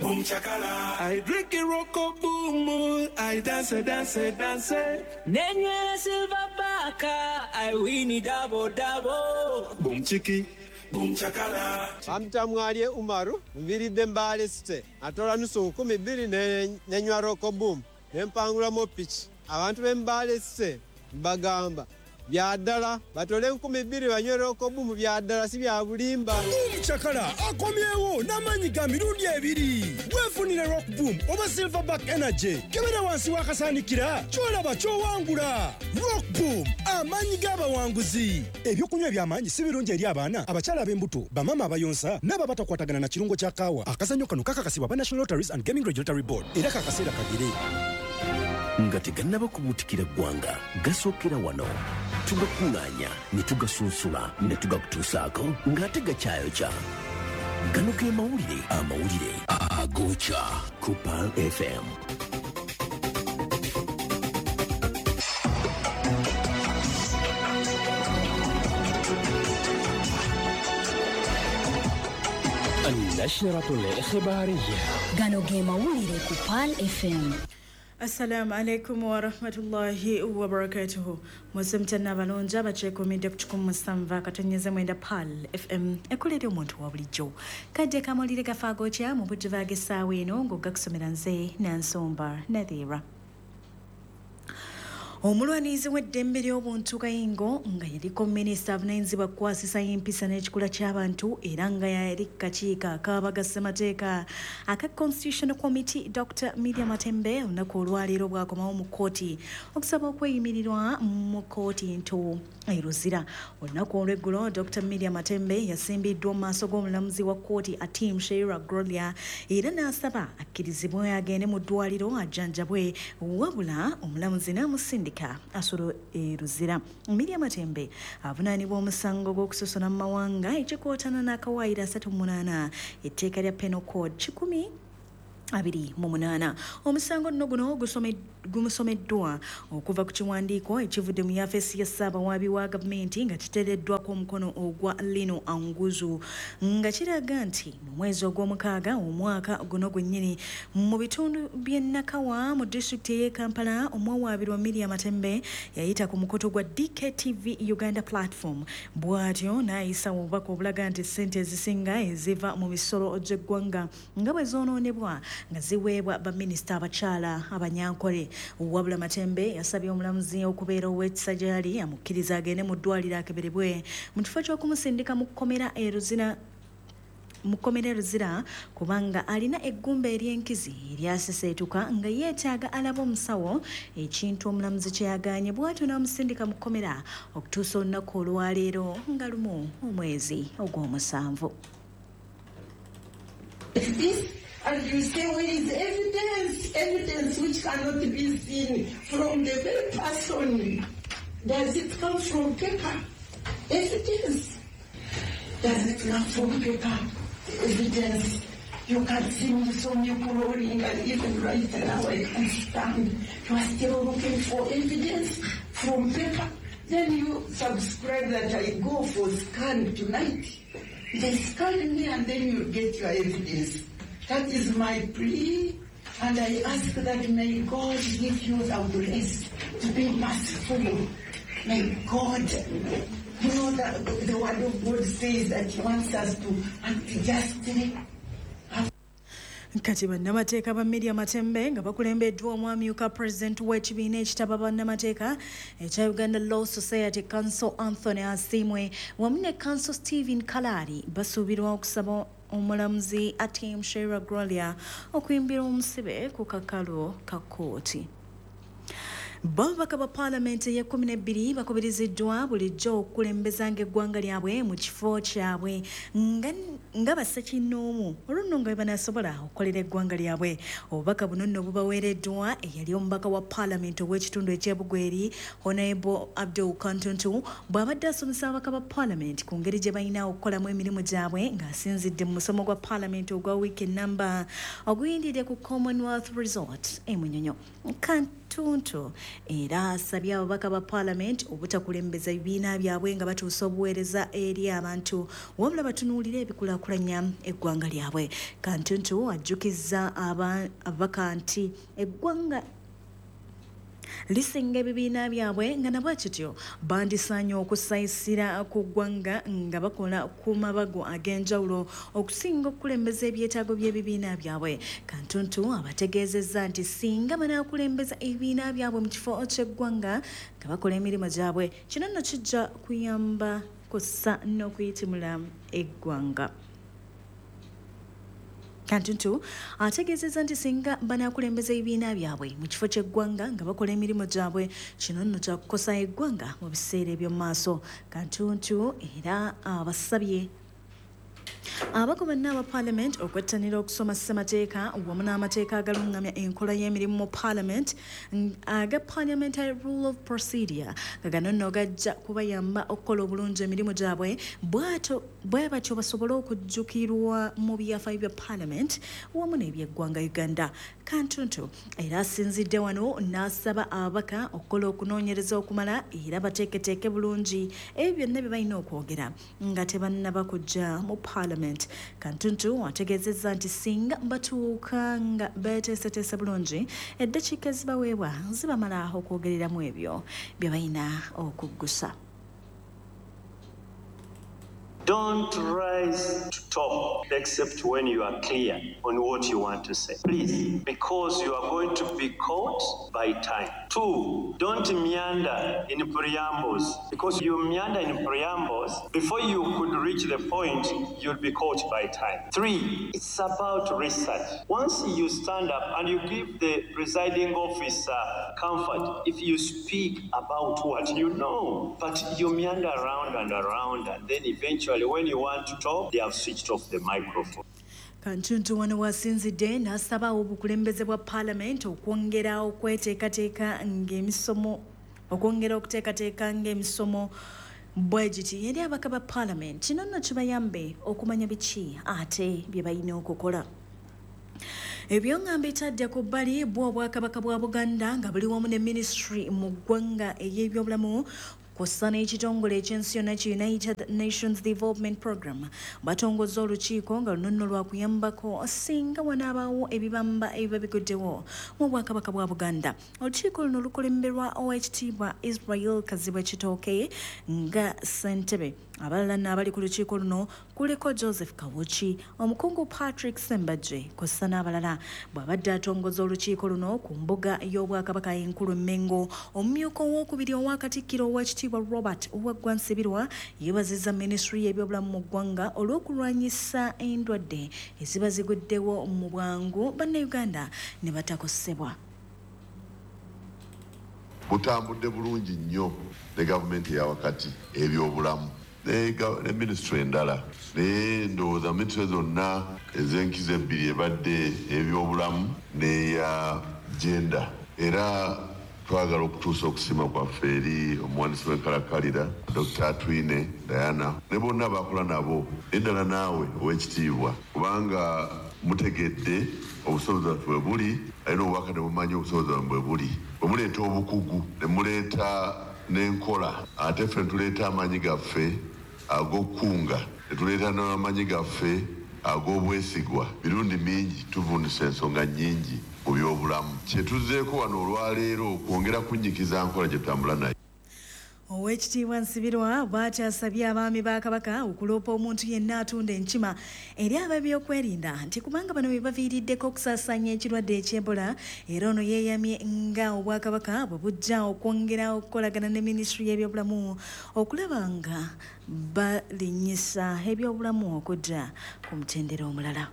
Boom chakala. I drink a Rock Boom, I dance, dance, dance. Nenywera silver baka, I win double double. Boom chiki, boom chakala. Bamtamwalye Umaru, nviridde Mbale City. Atola 2,000 nenywa Rock Boom. Nempangulamu piki. Abantu b'e Mbale City mbagamba bya ddala batole 2,000 banywe Rock Boom, bya ddala si bya bulimba. Boom Chakala akomyewo n'amaanyi ga mirundi ebiri. Weefunire Rock Boom oba Silverback Energy. Kebera wansi w'akasaanikira ky'olaba ky'owangula. Rock Boom, amaanyi g'abawanguzi. Ebyokunywa eby'amaanyi si birungi eri abaana, abakyala ab'embuto, bamaama abayonsa n'abo abatakwatagana na kirungo kya kaawa. Akazannyo kano kakakasibwa aba National Lotteries and Gaming Regulatory Board era kakaseera kagere. Nga tegannaba kubuutikira ggwanga, gasookera wano. Tugakuŋŋaanya ne tugasunsula ne tugakutuusaako ng'ate gakyayokya. Gano ge mawulire, amawulire agookya ku Pearl FM. النشرة الإخبارية. Gano ge mawulire ku Pearl FM. Assalamu alaikum warahmatullahi wabarakatuhu. Musemtana abalonja abakyekuumidde ku 107.9 Pearl FM ekolera omuntu wa bulijjo. Kadde kamawulire gafaagokya mu budde bw'essaawa eno ng'ogakusomera nze Nansomba Nadhira. Omulwanirizi w'eddembe ly'obuntu Kayingo nga yaliko minisita avunaanyizibwa kukwasisa empisa n'ekikula ky'abantu era nga yali kakiiko akabaga ssemateeka aka Constitutional Committee Dr. Miria Matembe olunaku olwaleero bw'akomawo mu kkooti okusaba okweyimirirwa mu kkooti ento e Luzira. Olunaku olw'eggulo Dr. Miria Matembe yasimbiddwa mu maaso g'omulamuzi wa kkooti Atim Sheira Gloria era n'asaba akkirizibwe agende mu ddwaliro ajjanjabwe, wabula omulamuzi n'amusindika asolo e Luzira. Miria Matembe avunaanibwa omusango gw'okusosola mu mawanga ekikootana n'akawaayiro 38 etteeka lya Penal Code 128. Omusango nno guno gumusomeddwa okuva ku kiwandiiko ekivudde mu yafeesi ya Ssaabawaabi wa gavumenti nga kiteereddwako omukono ogwa Lino Anguzu nga kiraga nti mu mwezi ogw'omukaaga omwaka guno gwennyini mu bitundu by'e Nakawa mu disitulikiti ey'e Kampala omuwawaabirwa Miria Matembe yayita ku mukutu gwa DKTV Uganda platform bw'atyo n'ayisa obubaka obulaga nti ssente ezisinga eziva mu misolo gy'eggwanga nga bwe zoonoonebwa nga ziweebwa baminisita abakyala abanyankole. Wabula Matembe yasabye omulamuzi okubeera ow'ekisa gy'ali amukkiriza agende mu ddwaliro akeberebwe mu kifo ky'okumusindika mu kkomera e Luzira kubanga alina eggumba ery'enkizi eryaseseetuka nga yeetaaga alaba omusawo, ekintu omulamuzi kye yagaanye bw'atyo n'amusindika mu kkomera okutuusa olunaku olwaleero nga 1 omwezi ogw'omusanvu. And you say, where is evidence? Evidence which cannot be seen from the very person. Does it come from paper? Evidence. Does it come from paper? Evidence. You can see me, so me crawling, and even right now I can stand. You are still looking for evidence from paper. Then you subscribe that I go for scan tonight. They scan me and then you get your evidence. That is my plea, and I ask that may God give you the grace to be merciful. May God, you know that the word of God says that he wants us to act justly. Kati bannamateeka ba Miria Matembe nga bakulembeddwa omwamyuka pulezidenti w'ekibiina ekitaba bannamateeka ekya Uganda Law Society Council Anthony Asiimwe wamu ne Council Stephen Kalari basuubirwa okusaba omulamuzi Atim Sheira Gloria okuyimbira omusibe ku kakalu ka kkooti. Babaka ba paalamenti ey'e12 bakubiriziddwa bulijjo okukulembezanga eggwanga lyabwe mu kifo kyabwe nga bassekinnoomu olwo nno nga bwe banaasobola okukolera eggwanga lyabwe. Obubaka buno nno bubaweereddwa eyali omubaka wa paalamenti ow'ekitundu eky'e Bugweri Honorable Abdul Kantuntu bw'abadde asomesa ababaka ba paalamenti ku ngeri gye balina okukolamu emirimu gyabwe ng'asinzidde mu musomo gwa paalamenti ogwa wiiki ennamba oguyindidde ku Commonwealth Resort e Munyonyo. Kantuntu Era asabye ababaka ba Paalamenti obutakulembeza ebibiina byabwe nga batuusa obuweereza eri abantu, wabula batunuulire ebikulaakulanya eggwanga lyabwe. Kantuntu ajjukizza ababaka nti eggwanga lisinga ebibiina byabwe, nga nabwe kityo bandisaanye okusayisira ku ggwanga nga bakola ku mabago ag'enjawulo okusinga okukulembeza ebyetaago by'ebibiina byabwe. Kantuntu abategeezezza nti singa banaakulembeza ebibiina byabwe mu kifo ky'eggwanga nga bakola emirimu gyabwe, kino nno kijja kuyamba kussa n'okuyitimula eggwanga. Kantuntu ategeezezza nti singa banaakulembeza ebibiina byabwe mu kifo ky'eggwanga nga bakola emirimu gyabwe, kino nno kyakukosa eggwanga mu biseera eby'omu maaso. Kantuntu era abasabye abako banna aba Paalamenti okwettanira okusoma ssemateeka wamu n'amateeka agalungamya enkola y'emirimu mu Paalamenti aga Parliamentary Rule of Procedure, nga gano nno gajja kubayamba okukola obulungi emirimu gyabwe, bwe batyo basobole okujjukirwa mu byafaayo bya Paalamenti wamu n'ebyeggwanga Uganda. Kantuntu era asinzidde wano n'asaba ababaka okukola okunoonyereza okumala era bateeketeeke bulungi ebyo byonna bye balina okwogera nga tebannaba kujja mu Paalamenti. Kantuntu ategeezezza nti singa batuuka nga beeteeseteese bulungi, eddakiika ezibaweebwa zibamala okwogereramu ebyo bye balina okuggusa. Don't rise to talk except when you are clear on what you want to say. Please, because you are going to be caught by time. 2, don't meander in preambles, because you meander in preambles, before you could reach the point, you'll be caught by time. 3, it's about research. Once you stand up and you give the presiding officer comfort, if you speak about what you know, but you meander around and around, and then eventually when you want to talk, they have switched off the microphone. Kantuntu wano wasinzidde n'asaba obukulembeze bwa Paalamenti okwongera okweteekateeka ng'emisomo okwongera okuteekateeka ng'emisomo bwe giti eri ababaka ba Paalamenti. Kino nno kibayambe okumanya biki ate bye balina okukola. Ebyongamba etadde ku bbali bwo Obwakabaka bwa Buganda nga buli wamu ne minisitule mu ggwanga ey'ebyobulamu kw'ossa n'ekitongole ekyensi yonna ki United Nations Development Program batongoza olukiiko nga luno nno lwakuyambako singa wanaabaawo ebibamba ebiba biguddewo mu Bwakabaka bwa Buganda. Olukiiko luno lukulemberwa Oweekitiibwa Israel Kazibwe Kitooke nga ssentebe. Abalala n'abali ku lukiiko luno kuliko Joseph Kawuki, omukungu Patrick Sembajje kw'ossa n'abalala. Bw'abadde atongoza olukiiko luno ku mbuga y'Obwakabaka enkulu Mmengo, omumyuka owookubiri owa Katikkiro Oweekitiibwa Robert Waggwa Nsibirwa yeebazizza minisitule y'ebyobulamu mu ggwanga olw'okulwanyisa endwadde eziba ziguddewo mu bwangu Bannayuganda ne batakosebwa. Butambudde bulungi nnyo ne gavumenti eya wakati ebyobulamu ne minisitule endala, naye ndowooza minisitule zonna ez'enkizo ebbiri ebadde ebyobulamu n'eya gender. Era twagala okutuusa okusiima kwaffe eri omuwandiisi w'enkalakkalira Dr. Atwine Diana ne bonna abakola nabo, eddala naawe ow'ekitiibwa, kubanga mutegedde obusobozi bwaffe bwe buli, alina obubaka ne bumanyi obusobozi bwaffe bwe buli. Bwe muleeta obukugu ne muleeta n'enkola, ate ffe ne tuleeta amaanyi gaffe ag'okukunga, ne tuleeta n'amaanyi gaffe ag'obwesigwa. Mirundi mingi tuvunisa ensonga nnyingi mu byobulamu. Kye tuzzeeko wano olwaleero kwongera kunnyikiza nkola gye tutambula nayo. Oweekitiibwa Nsibirwa bw'atyo asabye abaami ba Kabaka okuloopa omuntu yenna atunda enkima eri ab'ebyokwerinda nti kubanga bano be baviiriddeko okusaasaanya ekirwadde eky'Ebola. Era ono yeeyamye nga Obwakabaka bwe bujja okwongera okukolagana ne minisitule y'ebyobulamu okulaba nga balinnyisa ebyobulamu okudda ku mutendera omulala.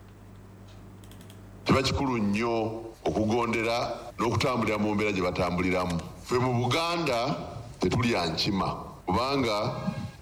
Kiba kikulu nnyo okugondera n'okutambulira mu mbeera gye batambuliramu. Ffe mu Buganda tetulya nkima, kubanga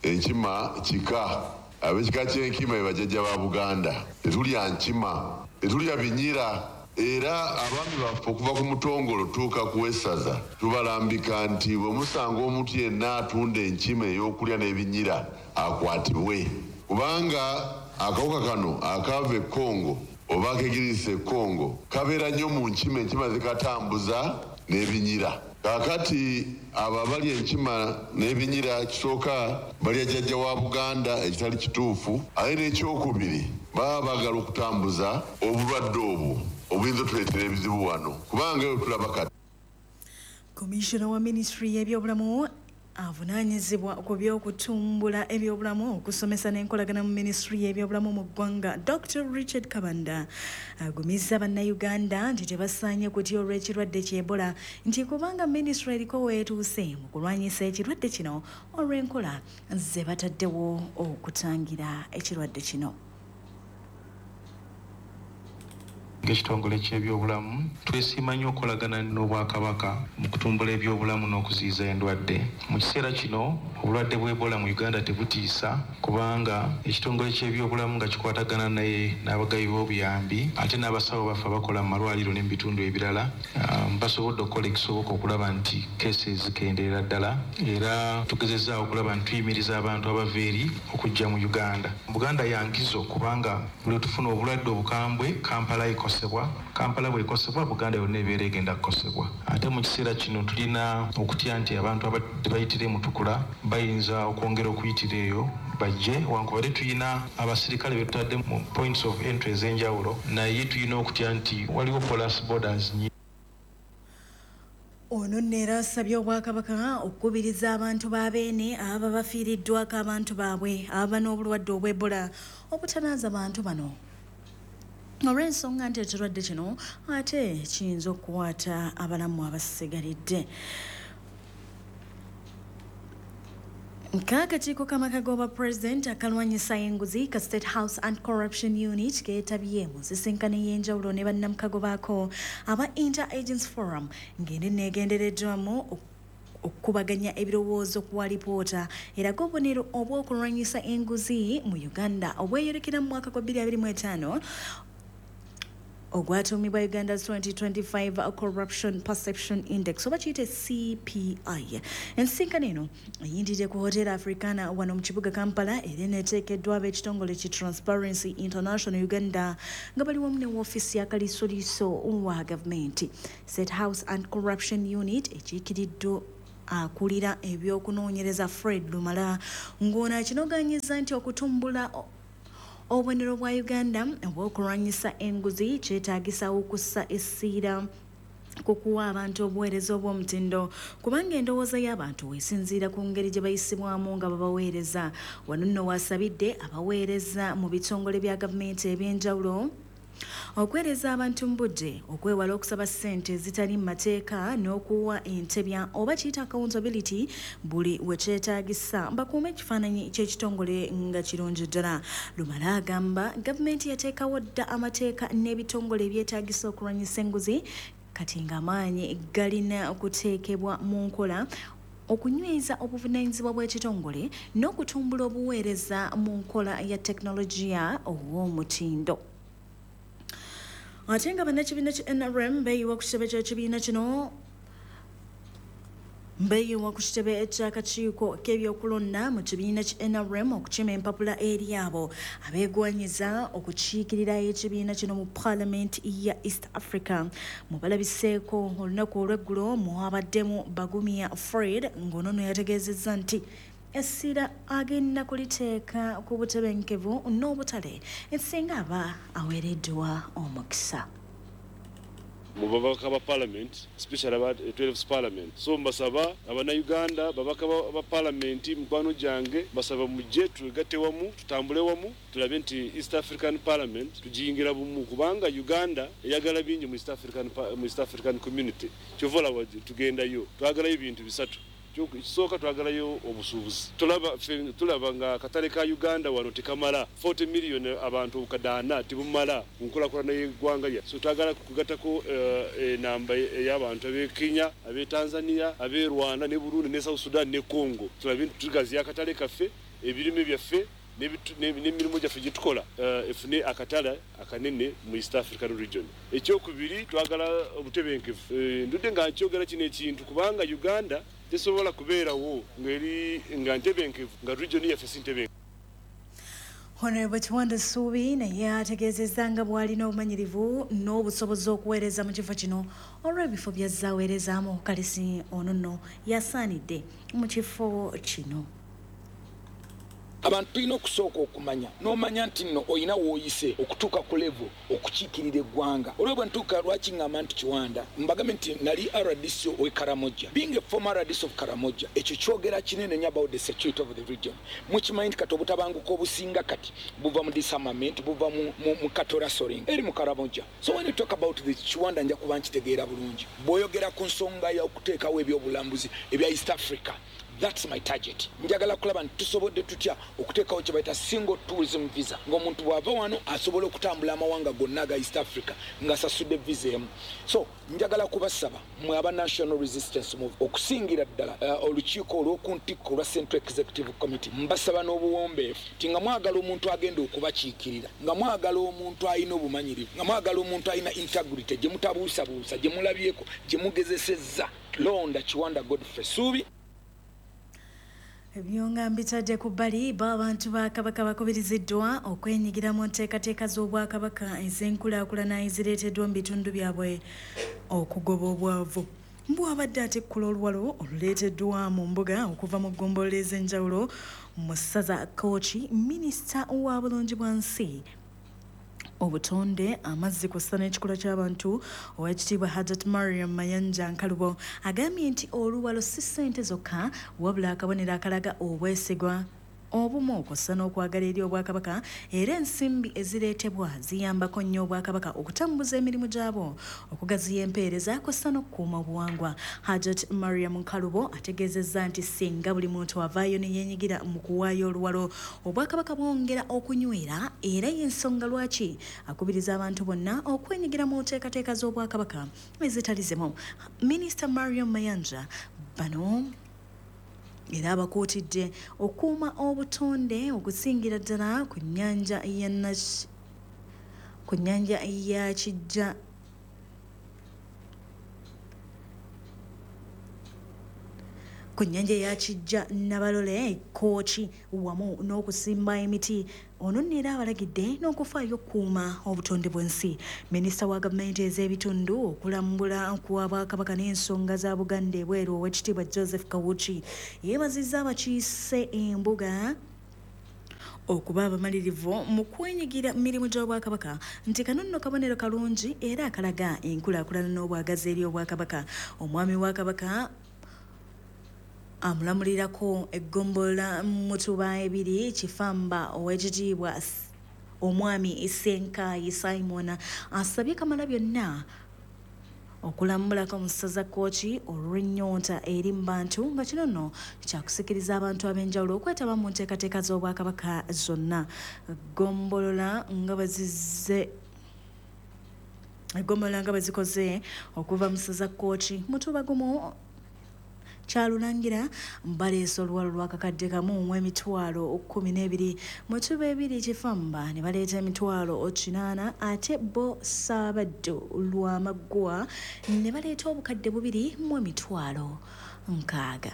enkima kika, ab'ekika ky'enkima be bajjajja ba Buganda. Tetulya nkima, tetulya binyira, era abaami baffe okuva ku mutongolo tuuka ku wessaza tubalambika nti bwe musanga omuntu yenna atunda enkima ey'okulya n'ebinyira akwatibwe, kubanga akawuka kano akaava e Congo oba akegiriisa e Congo kabeera nnyo mu nkima, enkima zikatambuza n'ebinyira. Kaakati abo abalya enkima n'ebinyira, kisooka balya jjajja wa Buganda, ekitali kituufu. Ate n'ekyokubiri, baba baagala okutambuza obulwadde obwo obuyinza otuleetera ebizibu wano, kubanga eyo tulaba kati. Komishona wa minisitule y'ebyobulamu avunaanyizibwa ku by'okutumbula ebyobulamu, okusomesa n'enkolagana mu minisitule y'ebyobulamu mu ggwanga, Dr Richard Kabanda, agumizza Bannayuganda nti tebasaanye kutya olw'ekirwadde ky'Ebola, nti kubanga minisitule eriko weetuuse mu kulwanyisa ekirwadde kino olw'enkola ze bataddewo okutangira ekirwadde kino. Ng'ekitongole ky'ebyobulamu, twesiima nnyo okukolagana n'Obwakabaka mu kutumbula ebyobulamu n'okuziyiza endwadde. Mu kiseera kino obulwadde bw'Ebola mu Uganda tebutiisa, kubanga ekitongole ky'ebyobulamu nga kikwatagana naye n'abagabi b'obuyambi ate n'abasawo baffe abakola mu malwaliro ne mu bitundu ebirala, basobodde okukola ekisoboka okulaba nti cases zikendeera ddala, era tugezezaawo okulaba nti tuyimiriza abantu abava eri okujja mu Uganda. Buganda yankizo, kubanga buli tufuna obulwadde obukambwe, Kampala ekosebwa. Kampala bwekosebwa, Buganda yonna ebeera egenda kukosebwa. Ate mu kiseera kino tulina okutya nti abantu abadde bayitira e Mutukula bayinza okwongera okuyitira eyo bajje, wankubadde tulina abasirikale be tutadde mu points of entry ez'enjawulo, naye tulina okutya nti waliwo porous borders. Ono nno era asabye Obwakabaka okukubiriza abantu ba Beene ababa bafiiriddwako abantu baabwe ababa n'obulwadde obw'Ebola obutanaaza bantu bano, olw'ensonga nti ekirwadde kino ate kiyinza okukwata abalamu abasigalidde. Nk'akakiiko k'amaka g'obwa pulezidenti akalwanyisa enguzi ka State House and Corruption Unit keetabye mu nsisinkano ey'enjawulo ne bannamukago baako aba Inter Agents Forum, ng'eno neegendereddwamu okukubaganya ebirowoozo ku alipoota eraga obubonero obw'okulwanyisa enguzi mu Uganda obweyolekera mu mwaka gwa 2025 ogwatuumibwa Uganda's 2025 Corruption Perception Index, oba kiyite CPI. Ensisinkano eno eyindidde ku Hotel Africana wano mu kibuga Kampala, era eneeteekeddwa ab'ekitongole ki Transparency International Uganda nga bali wamu ne woofiisi ya Kaliisoliiso wa gavumenti. State House and Corruption Unit ekiikiriddwa akulira ebyokunoonyereza Fred Lumala, ng'ono akinogaanyiza nti okutumbula obubonero bwa Uganda obw'okulwanyisa enguzi kyetaagisa okussa essira ku kuwa abantu obuweereza obw'omutindo, kubanga endowooza y'abantu esinziira ku ngeri gye bayisibwamu nga babaweereza. Wano nno wasabidde abaweereza mu bitongole bya gavumenti ebyenjawulo okweereza abantu mu budde, okwewala okusaba ssente ezitali mu mateeka n'okuwa entebya oba kiyita accountability buli we kyetaagisa, bakuume ekifaananyi ky'ekitongole nga kirungi ddala. Lumala agamba gavumenti yateekawo dda amateeka n'ebitongole ebyetaagisa okulwanyisa enguzi, kati ng'amaanyi galina okuteekebwa mu nkola okunyweza obuvunaanyizibwa bw'ekitongole n'okutumbula obuweereza mu nkola ya tekinologiya ow'omutindo. Ate nga bannakibiina ki NRM beeyiwa ku kitebe ky'ekibiina kino, beeyiwa ku kitebe ky'akakiiko k'ebyokulonda mu kibiina ki NRM okukima empapula eri abo abeegwanyiza okukiikirira ekibiina kino mu Paalamenti ya East Africa. Mubalabiseeko olunaku olw'eggulo mwabaddemu Bagumya Fred, ng'ono nno yategeezezza nti essira agenda kuliteeka ku butebenkevu n'obutale ensinga aba aweereddwa omukisa. Mu babaka ba parliament, especially aba 12th Parliament. So mbasaba Abannayuganda, babaka ba parliament, mikwano gyange, mbasaba mujje twegatte wamu, tutambule wamu, tulabe nti East African Parliament tugiyingira bumu, kubanga Uganda eyagala bingi mu East African Community. Kyova olaba tugendayo, twagalayo ebintu bisatu. Ekisooka, twagalayo obusuubuzi. Tulaba nga akatale ka Uganda wano tekamala 40 million abantu obukadde tebumala mu nkulakulana y'eggwanga lya. So twagala kugattako enamba ey'abantu ab'e Kenya, ab'e Tanzania, ab'e Rwanda ne Burundi ne South Sudan ne Congo, tulabe nti tugaziya akatale kaffe, ebirime byaffe n'emirimu gyaffe gye tukola efune akatale akanene mu East African region. Ekyokubiri, twagala obutebenkevu. Ndudde nga nkyogera kino ekintu, kubanga Uganda tesobola kubeerawo ng'eri nga ntebenkevu nga region yaffe si ntebenkevu. Honorable Kiwanda Ssuubi naye ategeezezza nga bw'alina obumanyirivu n'obusobozi okuweereza mu kifo kino olw'ebifo by'azze aweerezaamu. Kalisi ono nno yasaanidde mu kifo kino. Abantu tulina okusooka okumanya n'omanya nti nno olina w'oyise okutuuka ku level okukiikirira eggwanga. Olwo bwe ntuuka lwaki ŋŋamba nti Kiwanda, mbagambe nti nali RDC ow'e Karamoja. Being a former RDC of Karamoja, ekyo kyogera kinene nnyo about the security of the region. Mukimanyi nti kati obutabanguko obusinga kati buva mu disarmament, buva mu cattle rustling eri mu Karamoja. So when you talk about the Kiwanda, nja kuba nkitegeera bulungi. Bw'oyogera ku nsonga y'okuteekawo ebyobulambuzi ebya East Africa, that's my target. Njagala kulaba nti tusobodde tutya okuteekawo kye bayita single tourism visa, ng'omuntu bw'ava wano asobola okutambula amawanga gonna aga East Africa ng'asasudde visa emu. So njagala kubasaba mwe aba National Resistance Move, okusingira ddala olukiiko olw'oku ntikko olwa Central Executive Committee, mbasaba n'obuwombeefu nti nga mwagala omuntu agenda okubakiikirira, nga mwagala omuntu alina obumanyirivu, nga mwagala omuntu alina integrity gye mutabuusabuusa, gye mulabyeko, gye mugezesezza, londa Kiwanda Godfrey Ssuubi. Ebyo nga mbitadde ku bbali, bo abantu ba Kabaka bakubiriziddwa okwenyigira mu nteekateeka z'Obwakabaka ez'enkulaakulana ezireeteddwa mu bitundu byabwe okugoba obwavu. Mbwabadde atikkula oluwalo oluleeteddwa mu mbuga okuva mu ggombolola ez'enjawulo mu ssaza Kooki, minisita wa bulungi bwa nsi, obutonde, amazzi kw'ossa n'ekikula ky'abantu, Oweekitiibwa Hajat Mariam Mayanja Nkalubo, agambye nti oluwalo si ssente zokka wabula akabonero akalaga obwesigwa, obumu kw'ossa n'okwagala eri Obwakabaka, era ensimbi ezireetebwa ziyambako nnyo Obwakabaka okutambuza emirimu gyabwo, okugaziya empeereza kw'ossa n'okukuuma obuwangwa. Hajat Mariam Nkalubo ategeezezza nti singa buli muntu avaayo ne yeenyigira mu kuwaayo oluwalo, Obwakabaka bwongera okunywera, era y'ensonga lwaki akubiriza abantu bonna okwenyigira mu nteekateeka z'Obwakabaka ezitali zimu. Minisita Mariam Mayanja bano era abakuutidde okukuuma obutonde, okusingira ddala ku nnyanja ya Kijja ku nnyanja ya Kijja Nabalole Kooki, wamu n'okusimba emiti. Ono nno era abalagidde n'okufaayo okukuuma obutonde bw'ensi. Minisita wa gavumenti ez'ebitundu, okulambula kwa Bwakabaka n'ensonga za Buganda ebweru, Owekitiibwa Joseph Kawuki, yeebazizza abakiise embuga okuba abamalirivu mu kwenyigira mirimu gy'Obwakabaka, nti kano nno kabonero kalungi era akalaga enkulaakulana n'obwagazi eri Obwakabaka. Omwami wa Kabaka amulamulirako eggombolola Mutuba 2 Kifamba, Owekitiibwa Omwami Ssenkaayi Simon, asabye Kamala byonna okulambulako mu ssaza Kooki olw'ennyonta eri mu bantu, nga kino nno kyakusikiriza abantu ab'enjawulo okwetaba mu nteekateeka z'Obwakabaka zonna. Eggombolola nga bwe zikoze okuva mu ssaza Kooki, Mutuba 1 Kyalulangira baleese oluwalo lwa 1,012,000, Mutuba 2 Kifamba ne baleeta 800,000, ate bo Ssaabaddu Lwamaggwa ne baleeta 2,060,000.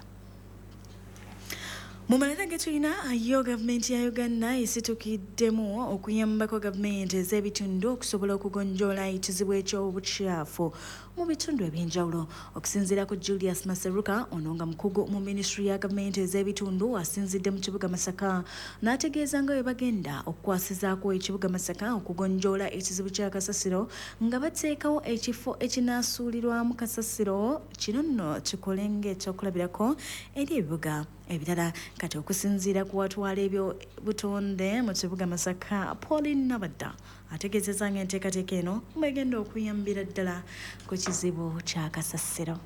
Mu malala ge tulina, yo gavumenti ya Uganda esitukiddemu okuyambako gavumenti ez'ebitundu okusobola okugonjoola ekizibu eky'obukyafu mu bitundu ebyenjawulo. Okusinziira ku Julius Maseruka, ono nga mukugu mu minisitule ya gavumenti ez'ebitundu, asinzidde mu kibuga Masaka n'ategeeza nga bwe bagenda okukwasizaako ekibuga Masaka okugonjoola ekizibu kya kasasiro nga bateekawo ekifo ekinaasuulirwamu kasasiro. Kino nno kikole ng'ekyokulabirako eri ebibuga ebirala. Kati okusinziira ku watwala ebyobutonde mu kibuga Masaka, Pauline Nabadda, ategeezezza ng'enteekateeka eno bwegenda okuyambira ddala ku kizibu kya kasasiro.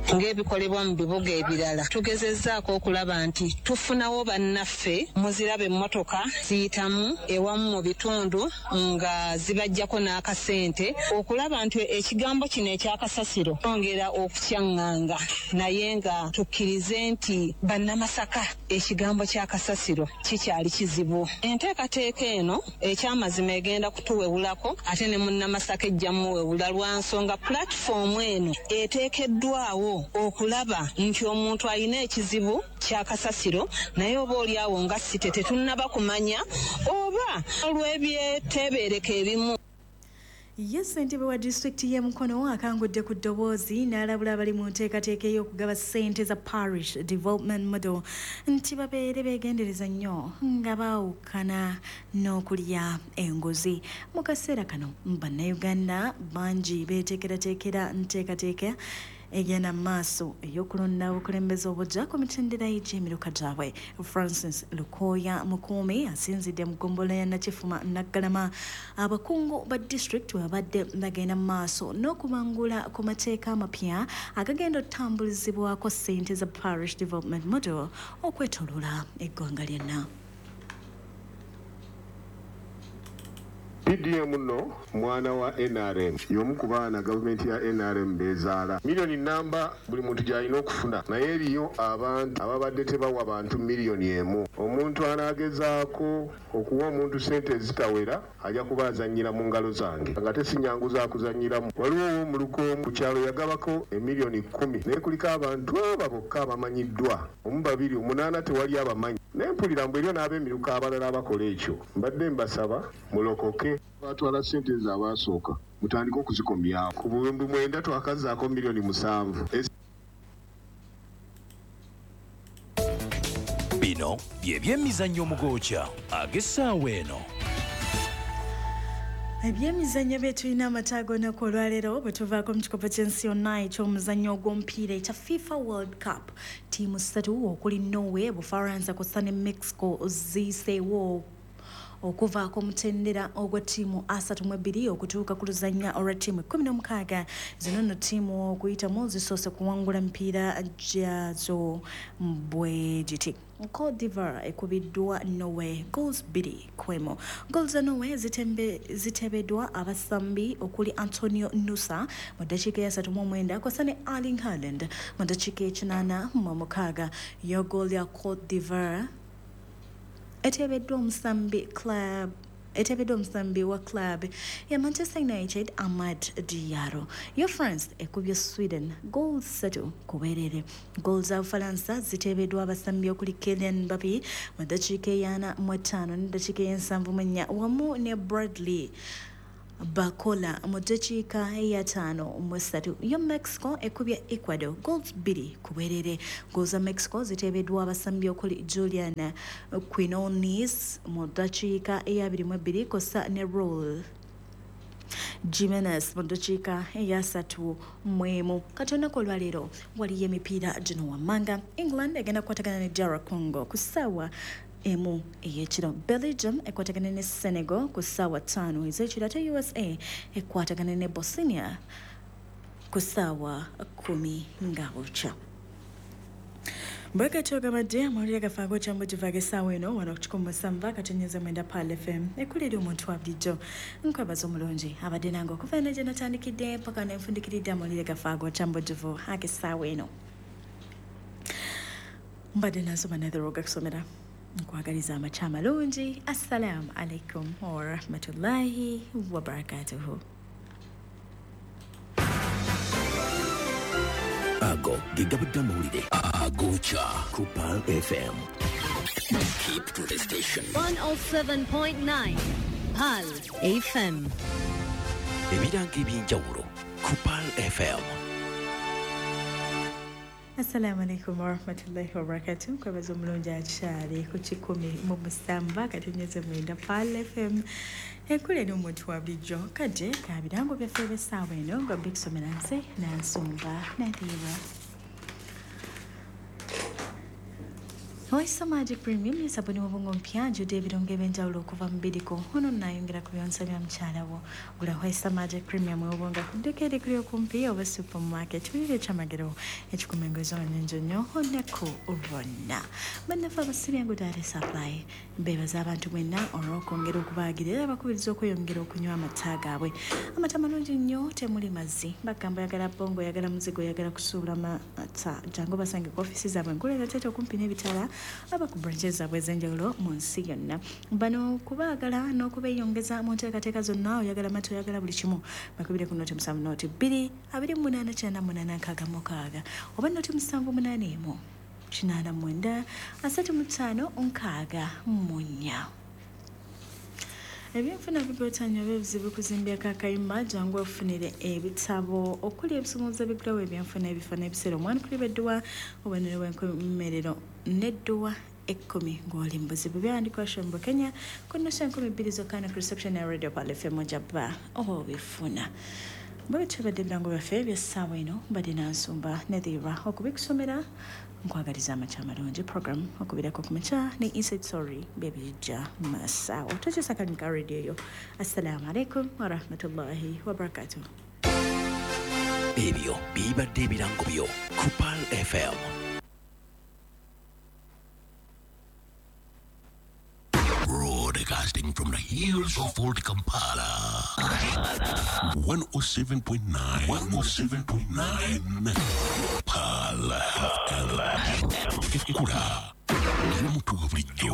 Ng'ebikolebwa mu bibuga ebirala, tugezezzaako okulaba nti tufunawo bannaffe. Muziraba emmotoka ziyitamu ewamu mu bitundu nga zibajjako n'akasente okulaba nti ekigambo kino ekyakasasiro twongera okukyaŋŋanga, naye nga tukkirize nti Bannamasaka ekigambo kyakasasiro kikyali kizibu. Enteekateeka eno ekyamazima egenda kutuwewulako, ate ne Munnamasaka ejja muwewula lwa nsonga pulatifoomu eno eteekeddwawo. okulaba nti omuntu alina ekizibu kya kasasiro, naye oba oli awo nga site tetunnaba kumanya oba olw'ebyeteebereka ebimu. Ye ssentebe wa disitulikiti y'e Mukono akangudde ku ddoboozi n'alabula abali mu nteekateeka ey'okugaba ssente za Parish Development Model nti babeere beegendereza nnyo nga baawukana n'okulya enguzi. Mu kaseera kano bannayuganda bangi beeteekerateekera nteekateeka egenda mu maaso ey'okulonda obukulembeze obujja ku mitendera gy'emiruka gyabwe. Francis Lukoya Mukuumi asinzidde mu ggombolola ya Nakifuma Naggalama abakungu ba disitulikiti we babadde bagenda mu maaso n'okubangula ku mateeka amapya agagenda okutambulizibwako ssente za Parish Development Model okwetooloola eggwanga lyonna. PDM nno mwana wa NRM, y'omu ku baana gavumenti ya NRM beezaala. Miliyoni namba buli muntu gy'alina okufuna, naye eriyo abantu ababadde tebawa bantu miliyoni emu. Omuntu anaagezaako okuwa omuntu ssente ezitawera ajja kuba azannyira mu ngalo zange, nga tesinyangu za kuzannyiramu. Waliwo ow'omuluka omu ku kyalo yagabako emiliyoni 10, naye kuliko abantu aba bokka abamanyiddwa, omu, babiri, omunaana tewali abamanyi. Naye mpulira mbu eriyo n'ab'emiruka abalala abakola ekyo. Mbadde mbasaba mulokoke. Batwala ssente ezo abaasooka mutandike okuzikomyawo. Ku buwumbi 9 twakazzaako miliyoni 7. Bino bye byemizannyo omugokya ag'essaawa eno. Ebyemizannyo bye tulina amataago olunaku olwaleero bwe tuvaako mu kikopo ky'ensi yonna eky'omuzannyo ogw'omupiira ekya FIFA World Cup. Ttiimu 3 okuli Norway, Bufaransa kw'ossa ne Mexico ziyiseewo okuvaako mutendera ogwa ttiimu 32 okutuuka ku luzannya olwa ttiimu 16. Zino nno ttiimu okuyitamu zisoose kuwangula mipiira gyazo bwe giti. Cote d'Ivoire ekubiddwa Norway goals 2-1. Goals za Norway zitebeddwa abasambi okuli Antonio Nusa mu ddakiika ya 39 kw'ossa ne Erling Haaland mu ddakiika 86. Yo goal ya Cote d'Ivoire etebeddwa omusambi wa club ya Manchester United Amad Diallo. Yo France ekubye Sweden goals 3-2. Goals za Ufaransa zitebeddwa abasambi okuli Kylian Mbappe mu ddakiika 45 ne ddakiika 74 wamu ne Bradley Bakola mu ddakiika 53. Yo Mexico ekubye Ecuador goals 2-2. Goals za Mexico ziteebeddwa abasambi okuli Julian Quinones mu ddakiika 22 kw'ossa ne Raul Jimenez mu ddakiika 31. Kati olunaku olwaleero waliyo emipiira gino wammanga. England egenda kukwatagana ne DR Congo ku ssaawa 1 ey'ekiro. Belgium ekwatagana ne Senegal ku ssaawa 5 ez'ekiro, ate USA ekwatagana ne Bosnia ku ssaawa 10 nga bukya. Bwekatyo gabadde amawulire gaffe ag'okyambugivu ag'essaawa eno wano ku 107.9 Pearl FM ekulira omuntu wa bulijjo. Nkwebaza omulungi abadde nange okuva eno gye natandikidde paka nenfundikiridde amawulire gaffe ag'okyambugivu ag'essaawa eno. Mbadde nansoma netheroga kusomera. Nkwagaliza amakya amalungi. Assalamu alaikum warahmatullahi wabarakatuhu. Ago ge gabadde amawulire agokya ku Pearl FM. Keep to the station. 107.9 Pearl FM. Ebirango ebyenjawulo ku Pearl FM. Assalamu alaikum warahmatullahi wabarakatuh. Nkwebaza omulungi akyali ku 107.9 Pearl FM ekule n'omuntu wa bulijjo. Kadde ka birango byaffe eby'essaawa eno nga bikusomera nze Nansumba Nadira. Oisa Magic Premium ye sabuni w'obwongo mpya ajjudde ebirungo ebyenjawulo okuva mu bidiko. Ono nayongera ku byonsa bya mukyala wo. Gula Oisa Magic Premium ow'obwongo ku dduuka erikuli okumpi oba supermarket. Wulira ekyamagero ekikuuma engoye zo nnyingi nnyo olunaku lwonna. Bannaffe abasibyangu Dairy Supply beebaza abantu mwenna olw'okwongera okubaagira era bakubiriza okweyongera okunywa amata gaabwe. Amata malungi nnyo, temuli mazzi. Bagamba oyagala bbongo, oyagala muzigo, oyagala kusuubula mata. Jangu basange ku ofiisi zaabwe enkulu era tete okumpi n'ebitala aba ku branches zaabwe ez'enjawulo mu nsi yonna. Bano kubaagala n'okubeeyongeza mu nteekateeka zonna, oyagala mata, oyagala buli kimu, bakubire ku 07 0 2 28 98 66 oba 078 89 35 64. Ebyenfuna bigotanya oba ebizibu kuzimbyako akayumba, jangu ofunire ebitabo okuli ebisumuuzo ebigulawo ebyenfuna, ebifo n'ebiseera omwanukulibwa edduwa, obubonero bw'enkomerero n'edduwa 10 ng'oli mu buzibu. Byawandikwa Shombo Kenya ku nnusu 2000 zokka ne ku reception ya Radio Pearl FM ojja obifuna. Bwe tubadde ebirango byaffe ebyessaawa eno, mbadde nansumba Nethira okubikusomera. Nkwagaliza amakya amalungi. Program okubirako ku makya ne Inside Story byebijja masaawo. Tokyusa kalimi ka radio yo. Assalamu alaikum warahmatullahi wabarakatuh. Ebyo bibadde ebirango byo ku Pearl FM. Broadcasting from the hills of Old Kampala. 107.9 107.9 Pearl FM. Ekula y'omuntu wa bulijjo.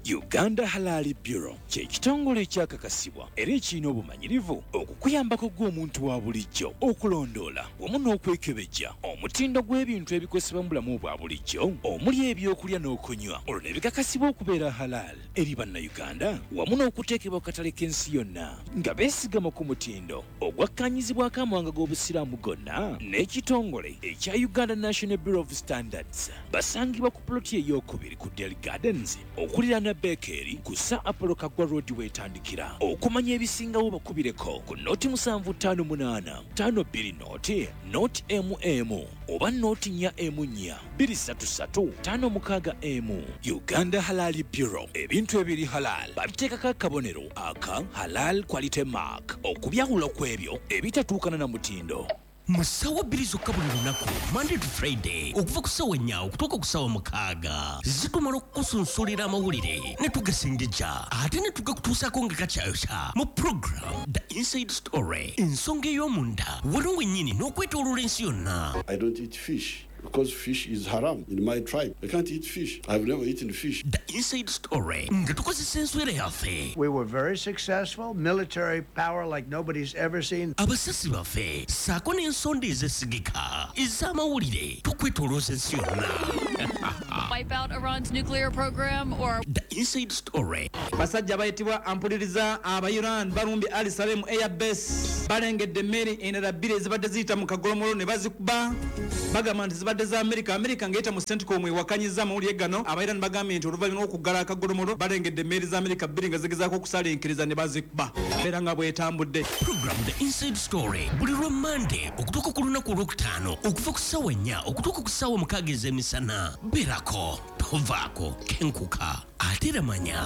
Uganda Halal Bureau kye kitongole ekyakakasibwa era ekirina obumanyirivu okukuyambako gw'omuntu wa bulijjo okulondoola wamu n'okwekebejja omutindo gw'ebintu ebikozesebwa mu bulamu bwa bulijjo omuli ebyokulya n'okunywa, olwo ne bikakasibwa okubeera halal eri Bannayuganda wamu n'okuteekebwa ku katale k'ensi yonna nga beesigama ku mutindo ogwakkaanyizibwako amawanga g'Obusiraamu gonna n'ekitongole ekya Uganda National Bureau of Standards. Basangibwa ku ploti ey'okubiri ku Del Gardens okuliraana Bekeri ku Sir Apollo Kaggwa Road weetandikira. Okumanya ebisingawo bakubireko ku 0758 52 0 0 mm oba 044 233 56 M. Uganda Halal Bureau, ebintu ebiri halal babiteekako akabonero aka Halal Quality Mark okubyawula ku ebyo ebitatuukana na mutindo. Mu ssaawa 2 zokka buli lunaku, Monday to Friday, okuva ku ssaawa 4 okutuuka ku ssaawa 6, zitumala okukusunsulira amawulire ne tugasengejja ate ne tugakutuusaako nga kakyayokya mu program The Inside Story, ensonga ey'omunda wano wennyini n'okwetooloola ensi yonna. I don't eat fish because fish is haram in my tribe. I can't eat fish. I've never eaten fish. The Inside Story nga tukozesa enswera yaffe. We were very successful, military power like nobody's ever seen. Abasasi baffe ssaako n'ensonda ezesigika ez'amawulire tukwetoolooza ensi yonna. Wipe out Iran's nuclear program or The Inside Story. Basajja bayitibwa ampuliriza aba Iran balumbye Al Salem Air Base, balengedde emmeri endala bbiri ezibadde ziyita mu kagolomolo ne bazikuba, bagamba nti zibadde za Amerika. Amerika ng'eyita mu CENTCOM ewakanyizza amawulire gano. Aba Iran bagambye nti oluvannyuma lw'okuggala akagolomolo balengedde emmeri za Amerika bbiri nga zigezaako okusaalinkiriza ne bazikuba, era nga bwetambudde. Program The Inside Story buli lwa Monday okutuuka ku lunaku olwokutaano okuva ku ssaawa 4 okutuuka ku ssaawa 6 ez'emisana. Beerako, tovaako, kenkuka ate era manya.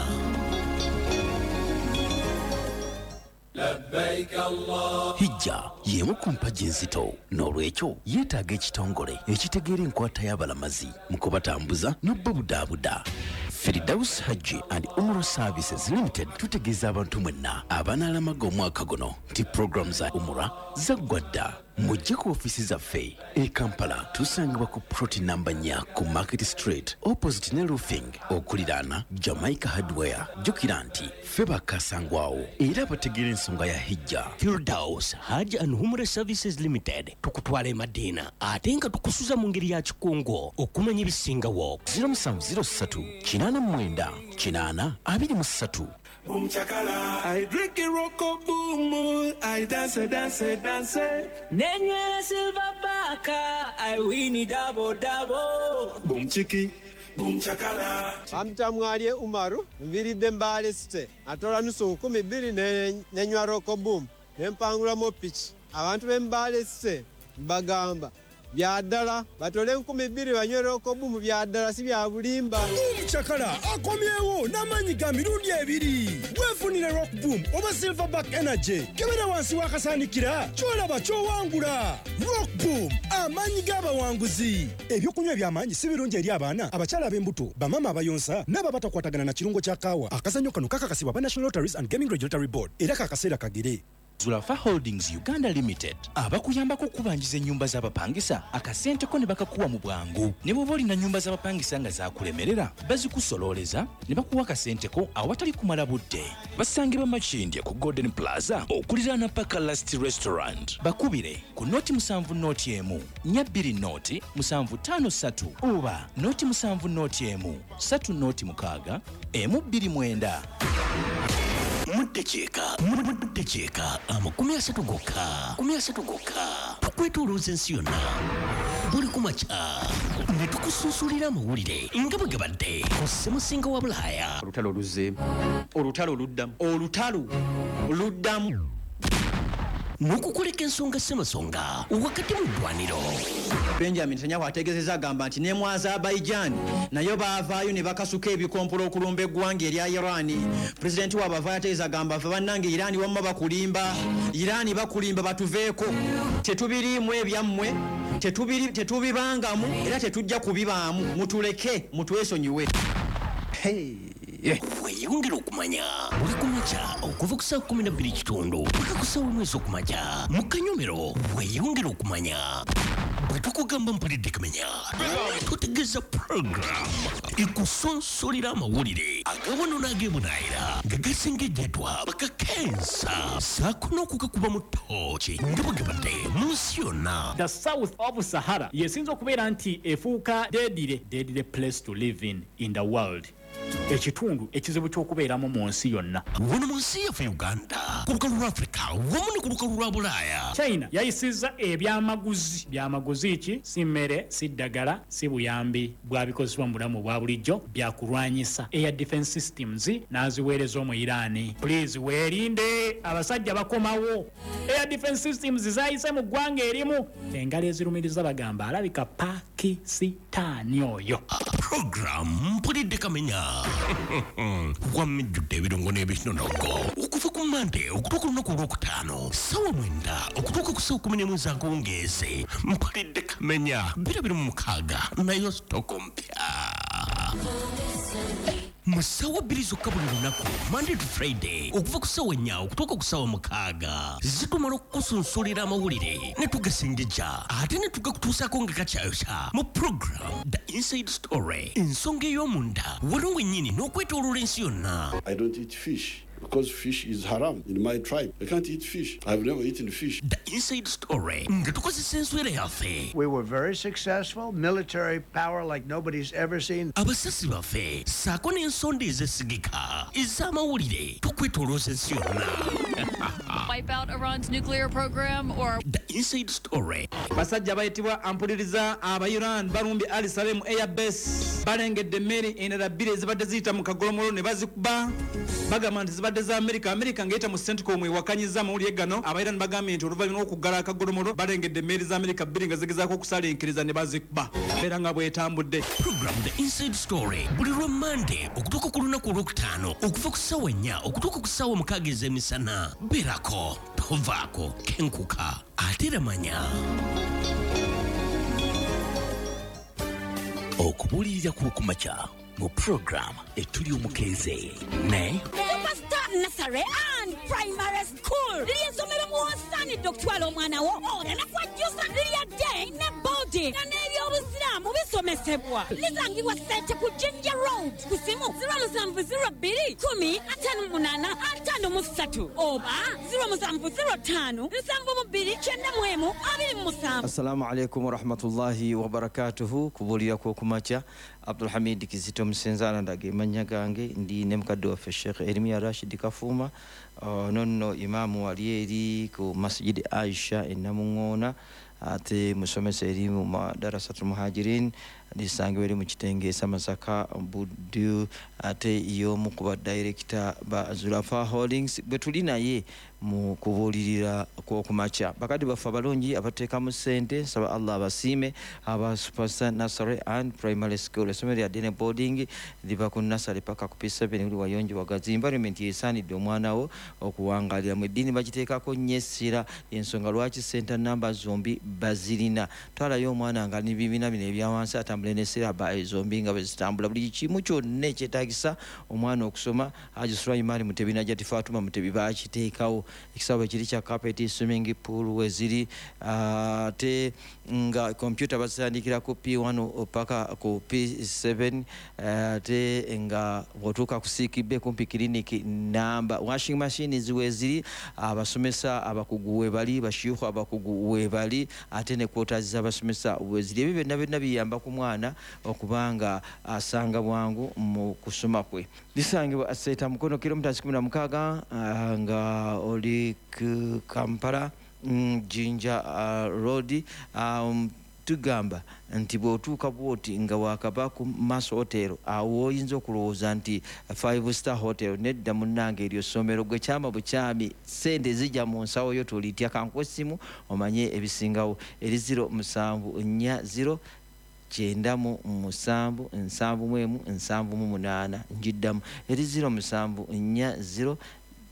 Hijja y'emu ku mpagi enzito, n'olwekyo yeetaaga ekitongole ekitegeera enkwata y'abalamazi mu kubatambuza n'obbabudaabuda. Firdaus Hajji and Umrah Services Limited tutegeeza abantu mwenna abanaalamaga omwaka guno nti puroguramu za Umrah zaggwa dda. Mujje ku ofiisi zaffe e Kampala, tusangibwa ku plot namba 4 ku Market Street opposite ne Roofing okuliraana Jamaica Hardware. Jjukira nti ffe bakasangwawo era bategeera ensonga ya hijja. Firdaus Hajj and Umrah Services Limited tukutwala e Madina ate nga tukusuza mu ngeri ya kikungo. Okumanya ebisingawo 0703 89 80 23. Boom chakala. I drink it roko boom boom. I dance dance dance. Nenywera silver baka. I win it double double. Boom chiki. Boom chakala. Bamtamwalye Umaru nviridde Mbale City atola nusu 2000 nenywa Roko Boom nempangulamu piki. Abantu b'e Mbale City mbagamba byaddala batole 2000 banywe Roko Boom, byaddala si bya bulimba. Boom Chakala akomyewo n'amaanyi ga mirundi ebiri. Weefunire Rock Boom oba Silverback Energy, kebera wansi w'akasaanikira ky'olaba ky'owangula. Rock Boom, amaanyi g'abawanguzi. Ebyokunywa eby'amaanyi si birungi eri abaana, abakyala ab'embuto, bamaama abayonsa n'abo abatakwatagana na kirungo kya kaawa. Akazannyo kano kakakasibwa aba National Lotteries and Gaming Regulatory Board era kakaseera kagere. Zulafa Holdings Uganda Limited abakuyambako okubanjiza ennyumba z'abapangisa akasente ko ne bakakuwa mu bwangu. Ne bw'oba olina nnyumba z'abapangisa nga zaakulemerera, bazikusololeza ne bakuwa akasente ko awatali kumala budde. Basangibwa Makindye ku Golden Plaza okuliraana Paka Last Restaurant. Bakubire ku 070 1 20 753 oba 070 1 3 06 129. Muddekyeka 30 gokka 30 gokka tukwetoolooza ensi yonna buli kumakya ne tukusunsulira amawulire nga bwe gabadde ku ssemusinga wa Bulaaya. Olutalo luzzeemu, olutalo luddamu, olutalo luddamu n'okukoleka ensonga ssemasonga wakati mu ddwaniro. Benjamin Netanyahu ategeezezza agamba nti ne mu Azerbaijan nayo baavaayo ne bakasuka ebikompola okulumba eggwanga erya Iran. Pulezidenti waabwe avaayo ategeeza agamba ffe bannange Iran wamma bakulimba, Iran bakulimba, batuveeko, tetubiriimu ebyammwe, tetubibangamu era tetujja kubibaamu, mutuleke mutwesonyiwe. Weeyongera okumanya buli kumakya okuva ku ssaawa 12:15 paka ku ssaawa 1 ez'okumakya mu kanyomero. Weeyongera okumanya bwe tukugamba mpulidde kamenya, tutegeeza program ekusonsolera amawulire agawano n'ag'ebunaayira nga gasengejjeddwa bakakensa ssaako n'okugakuba mu ttooki nga bwe gabadde mu nsi yonna. The South of Sahara yesinza okubeera nti efuuka deadly place to live in the world. Ekitundu ekizibu ky'okubeeramu mu nsi yonna. Wano mu nsi yaffe Uganda, ku lukalu lwa Afrika wamu ne ku lukalu lwa Bulaaya. China yayisizza ebyamaguzi. Byamaguzi ki? Si mmere, si ddagala, si buyambi bwabikozesebwa mu bulamu obwa bulijjo, byakulwanyisa. Air defense systems n'aziweereza omu Iran. Please weerinde, abasajja bakomawo. Air defense systems zaayise mu ggwanga erimu. Engalo ezirumiriza bagamba alabika Pakisitaani oyo. Program mpulidde kamenya wamijjudde ebirungo n'ebinonogo okuva ku Mande okutuuka olunaku olwokutaano ssaawa 9 okutuuka ku ssaawa 11 ez'akawungeezi. Mpulidde kamenya 2026 nayo sitoko mpya mu ssaawa 2 zokka buli lunaku, Monday to Friday, okuva ku ssaawa 4 okutuuka ku ssaawa 6 zitumala okukusunsulira amawulire ne tugasengejja ate ne tugakutuusaako nga kakyayokya mu program The Inside Story, ensonga ey'omunda wano wennyini n'okwetooloola ensi yonna. I don't eat fish because fish is haram in my tribe. I can't eat fish. I've never eaten fish. The Inside Story nga tukozesa enswera yaffe. We were very successful, military power like nobody's ever seen. Abasasi baffe ssaako n'ensonda ezesigika ez'amawulire tukwetoolooza ensi yonna. Wipe out Iran's nuclear program or The Inside Story. Basajja bayitibwa ampuliriza aba Iran balumbye Ali Salem Air Base, balengedde emmeri endala bbiri ezibadde ziyita mu kagolomolo ne bazikuba, bagamba nti zibadde za Amerika. Amerika ng'eyita mu CENTCOM ewakanyizza amawulire gano. Aba Iran bagambye nti oluvannyuma lw'okuggala akagolomolo balengedde emmeri za Amerika bbiri nga zigezaako okusalinkiriza ne bazikuba, era nga bwetambudde. Program The Inside Story buli lwa Mande okutuuka ku lunaku olwokutaano okuva ku ssaawa 4 okutuuka ku ssaawa 6 ez'emisana. Beerako, tovaako, kenkuka ate era manya. Okubuulirira kw'okumakya mu program etuli omukeeze ne Superstar Nursery and Primary School liri essomero mw'osaanidde okutwala omwana wo oleme kwejjusa. Lirya day ne boarding nga n'ebyobusiraamu bisomesebwa. Lisangibwa Ssente ku Jinja Road ku simu 0702 10 58 53 oba 0705 72 91 27. Assalamu alaikum warahmatullahi wabarakatuhu. Kubuulira kw'okumakya, Abdulhamid Kizito Musenzaala ndaga amannya gange, ndi ne mukadde waffe Sheikh Erimiya Rashid Kafuuma, nonno imaamu wali eri ku Masjid Aisha e Namuŋŋoona, ate musomesa eri mu Madarasatul Muhajirin lisangibwa eri mu Kitenge Masaka Buddu, ate y'omu ku badirekita ba Zulafa Holdings bwe tuli naye mu kubuulirira kw'okumakya. Bakadde baffe abalungi abateekamu ssente, nsaba Allah abasiime. Aba Superstar Nursery and Primary School, essomero lya Dene Boarding liva ku nursery paka ku P7, buli wayonjo wagazi. Environment yesaanidde omwana wo okuwangaaliramu. Eddiini bagiteekako nnyo essira, ensonga lwaki center namba zombi bazirina. Twalayo omwana nga n'ebibiina bino ebya wansi atambula Batambule ne siraba zombi nga bwe zitambula, buli kimu kyonna ekyetaagisa omwana okusoma. Haji Sulaiman Mutebi, Najati Fatuma Mutebi bakiteekawo. Ekisaawe kiri kya carpet, swimming pool weziri, ate nga kompyuta bazitandikira ku P1 paka ku P7, ate nga bw'otuuka ku sick bay kumpi kiriniki namba, washing machines weziri, abasomesa abakugu webali, bashiikhu abakugu webali, ate ne quarters z'abasomesa weziri. Ebyo byonna byonna biyamba ku mwana okubanga asanga bwangu mu kusoma kwe. Lisangibwa Seeta Mukono, kilomita 16 nga oli ku Kampala Jinja Road. Tugamba nti bw'otuuka bwoti nga wakava ku Maso Hotel, awo oyinza okulowooza nti five star hotel. Nedda munnange, eryo ssomero. Gwe kyama bukyami, sente zijja mu nsawo yo, tolitya. Kankuwa essimu omanye ebisingawo, eri 0740 97 71 78. Njiddamu, eri 0740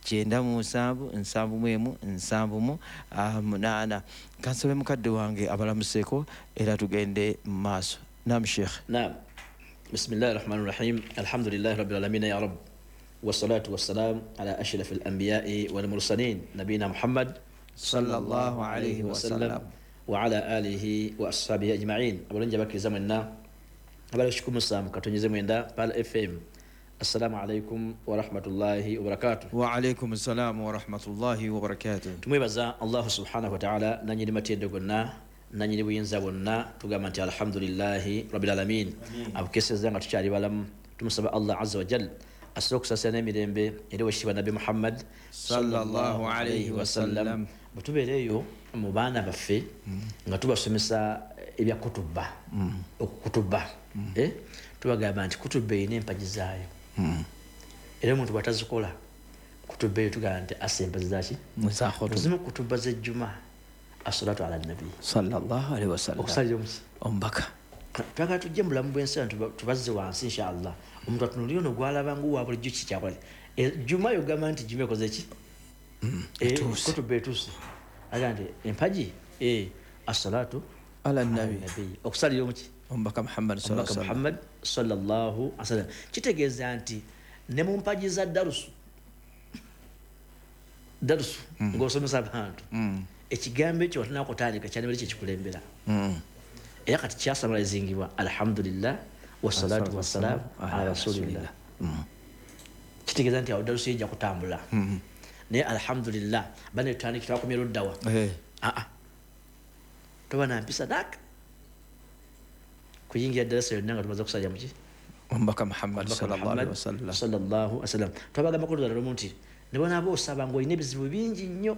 97 71 78. Kansabe mukadde wange abalamuseeko era tugende mu maaso. Nam sheikh. نعم، بسم الله الرحمن الرحيم، الحمد لله رب العالمين يا رب، والصلاة والسلام على أشرف الأنبياء والمرسلين نبينا محمد صلى الله عليه وسلم. وعلى آله وأصحابه أجمعين. Abalungi abakkiriza mwenna abali 107.9 Pearl FM, assalamu alaikum warahmatullahi wabarakatuh. Waalaikum assalamu warahmatullahi wabarakatuh. Tumwebaza Allahu subhanahu wa ta'ala, nanyini matendo gonna, nanyini buyinza bwonna. Tugamba nti alhamdulillahi rabbil alamin, abukeseza nga tukyali balamu. Tumusaba Allah azza wa jal asobola okusaasira n'emirembe eri owekitiibwa Nabbi Muhammad sallallahu alaihi wasallam. Bwe tubeera eyo mu baana baffe nga tubasomesa ebya kutuba, okukutuba, tubagamba nti kutuba erina empagi zaayo, era omuntu bw'atazikola kutuba eyo tugamba nti assa empazi zaki. Zimu kutuba z'ejjuma, assalatu ala nabi sallallahu alaihi wasallam, okusalira omuki omubaka. Twagala tujje mu bulamu bw'ensi tubazze wansi inshallah. Omuntu atunulire ono gwalaba nguwa bulijjo kikyakola jjuma, yogamba nti jjuma ekoze ki? Kutuba etuuse. Agamba nti empagi, assalatu ala nabi, okusalira omuki omubaka Muhammad sallallahu Muhammad sallallahu alaihi wasallam. Kitegeeza nti ne mu mpagi za darusu darusu ng'osomesa abantu, ekigambo ekyo watunakutandika kyandibadde kyekikulembera, era kati kyasamalizingibwa alhamdulillah wassalatu wassalamu ala rasulillah. Kitegeeza nti awo darusu ejja kutambula. Naye alhamdulillah bane tutandikira twakomye luddawa, toba nampisa daka kuyingira darasa yonna nga tumaze okusalira muki omubaka Muhammad sallallahu alaihi wasallam. Sallallahu alaihi wasallam. Twabagamba kuludda lumu nti ne bonaaba osaba ng'olina ebizibu bingi nnyo,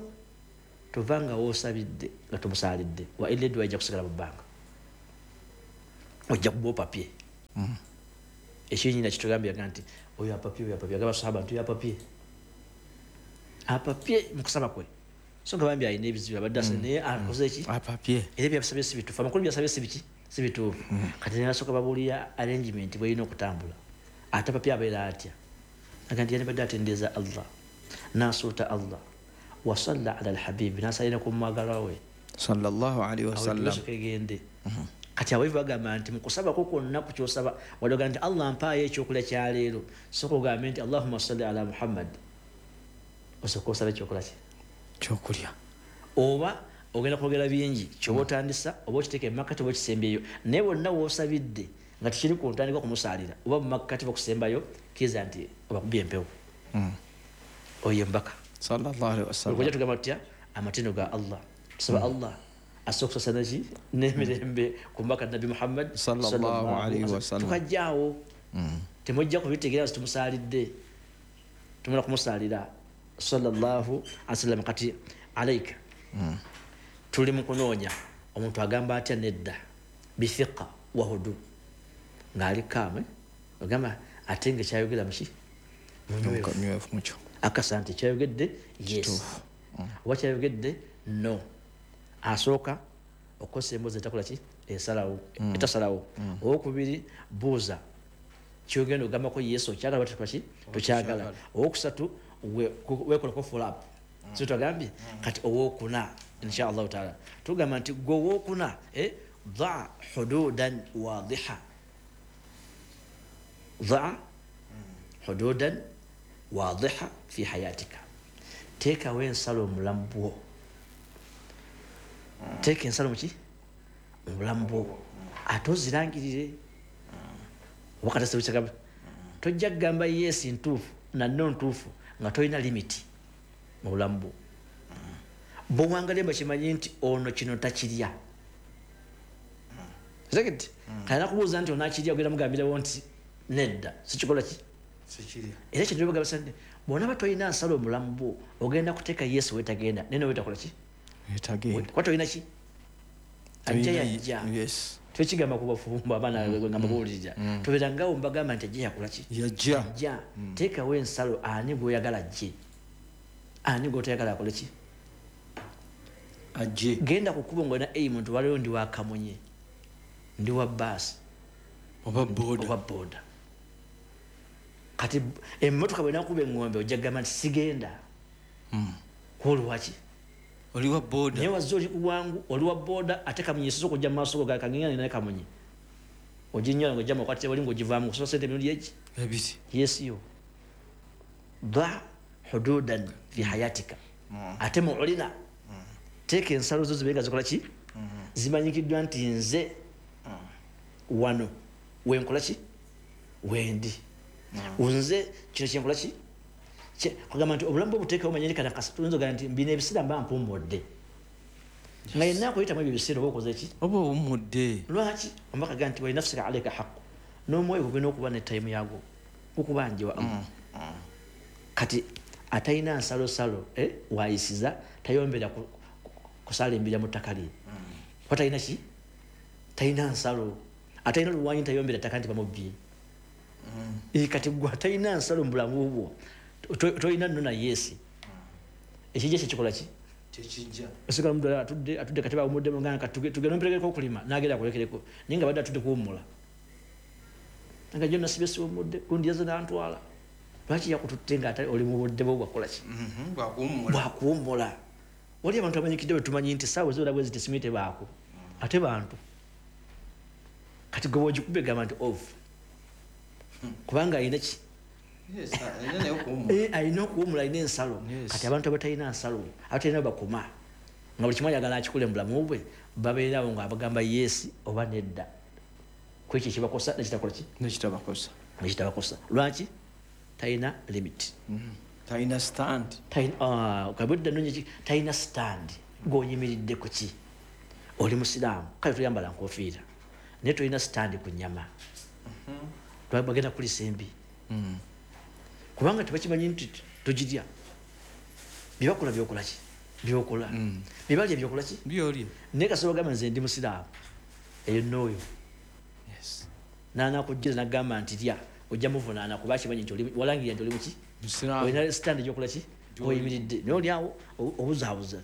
tova nga woosabidde nga tomusaalidde, wa illa eddwa ejja kusigala mu bbanga, ojja kuba opapye. Ekinyina kitugambye nti oyo apapye, oyo apapye, agamba sahaba nti oyo apapye, apapye mu kusaba kwe, so nga bambi alina ebizibu abadde asa naye akoze ki? Apapye. Era byabasabye si bituufu, amakulu byasabye si biki? Si bituufu. Kati ne basooka babuulira arrangement bw'erina okutambula. Ate apapye abeera atya? Aga nti yandibadde atendereza Allah, n'asuuta Allah, wasalla ala alhabibi, n'asalira ku mwagalwa we sallallahu alaihi wasallam. Egende. Kati abayivu bagamba nti mu kusabako kwonna ku kyosaba waliwo nti Allah mpaayo ekyokulya kya leero, sooka ogambe nti Allahumma salli ala Muhammad, osooka osaba ekyokulya ki? Kyokulya. Oba ogenda kwogera bingi kyoba otandisa, oba okiteeka emakkati oba okisembyeyo, naye wonna w'osabidde nga tekiri ku ntandikwa kumusaalira oba mu makkati bakusembayo, kkiriza nti obakubye empewo. Oyo embaka sallallahu alaihi wasallam. Okujja tugamba tutya amatendo ga Allah, tusaba Allah asobola okusaasira ki n'emirembe ku mbaka Nabbi Muhammad sallallahu alaihi wasallam. Tukajjaawo temujja kubitegeera nti tumusaalidde, tumala kumusaalira sallallahu alaihi wasallam. Kati alaika tuli mu kunoonya omuntu agamba atya nedda bithiqa wa hudu, ng'ali kaame ogamba ate nga kyayogera muki munywevu mukyo, akasa nti kyayogedde yes oba kyayogedde no. Asooka okukozesa emboozi etakola ki? Esalawo, etasalawo. Owokubiri, buuza kyogenda ogambako yesu okyagala oba ki tokyagala. Owokusatu, weekolako follow up, so twagambye. Kati owokuna inshallah taala tugamba nti gwe owokuna Daa hududan wadiha, daa hududan wadiha fi hayatika. Teekawo ensalo mu bulamu bwo, teeka ensalo muki mu bulamu bwo, ate ozirangirire. Wakati tojja kugamba yes ntuufu nanno ntuufu nga tolina limiti mu bulamu bwo. Bw'owangalye bakimanyi nti ono kino takirya. Zekiti kalina kubuuza nti onakirya, ogenda mugambirawo nti nedda sikikola ki, era kintu bagamba nti bw'onaaba tolina nsalo mu bulamu bwo ogenda kuteeka yesu wetagenda naye nowetakola ki, kuba tolina ki, ajja yajja. Twekigamba ku bafumbo abaana nga mbabuulirira, tubeerangawo mbagamba nti ajja yakola ki, yajja. Teekawo ensalo, ani gw'oyagala ajje, ani gw'otayagala akole ki, ajje. Genda ku kkubo ng'olina aim nti waliwo ndi wa Kamunye, ndi wa baasi oba boda. Kati emmotoka bw'enaakuba eŋŋombe ojja kugamba nti sigenda, kwolwaki oli wa boda, naye wazze oli ku bwangu, oli wa boda, ate Kamunye esoose okujja mu maaso go, kagenda naye Kamunye oginyola ng'ojja mukwatira wali ng'ogivaamu kusaba sente emirundi egi ebiri. Yes, yo da hududan fi hayatika. Ate muulina teeka ensalo zo zibe nga zikola ki, zimanyikiddwa nti nze wano wenkola ki, wendi nze kino kyenkola ki. Kugamba nti obulamu bwo buteekawo manyiri kana tuyinza okugamba nti bino ebiseera mba mpummudde, nga yenna akuyitamu ebyo ebiseera oba okoze ki, oba owummudde. Lwaki omubaka agamba nti walinafsika alaika haqqu, n'omwoyo gulina okuba ne tayimu yagwo gukubanjiwa. Kati atalina nsalosalo wayisiza tayombera kusala embira mu ttaka lye, kuba talina ki, talina nsalo. Atalina luwanyi tayombera ttaka nti bamubbye. Kati gwe atalina nsalo mu bulamu bwo tolina nno na yeesi, ekijja kyekikola ki, tekijja. Osigala mudala atudde kati bawumuddemu nga tugende omperekereko okulima, n'agenda akulekereko, naye nga badde atudde kuwummula, nga jjo nasibye siwummudde, gundi yazze n'antwala. Lwaki yakututte nga oli mu budde bwo bwakola ki, bwakuwummula. Wali abantu abanyikidde bwe tumanyi nti essaawa eziwera bwe ziti simanyi tebaako, ate bantu. Kati gwe bw'ogikuba egamba nti off, kubanga alina ki, alina okuwummula, alina ensalo. Kati abantu abatalina nsalo, abatalina bakoma, nga buli kimu ayagala akikole mu bulamu bwe, babeerawo nga abagamba yeesi oba nedda ku ekyo ekibakosa nekitakola ki, nekitabakosa. Lwaki talina limit, talina stand, kabudda nonye talina stand. Gw'oyimiridde ku ki, oli musiraamu kale toyambala nkofiira, naye tolina stand ku nnyama, bagenda kulisa embi, kubanga tebakimanyi nti togirya. Byebakola byokola ki, byokola, byebalya byokola ki, byolya. Naye kasita bagamba nze ndi musiraamu, eyo n'oyo n'anaakujjira n'agamba nti lya, ojja muvunaana kuba akimanyi nti walangirira nti oli muki, olina stand gyokola ki, oyimiridde, naye oli awo obuzaabuza.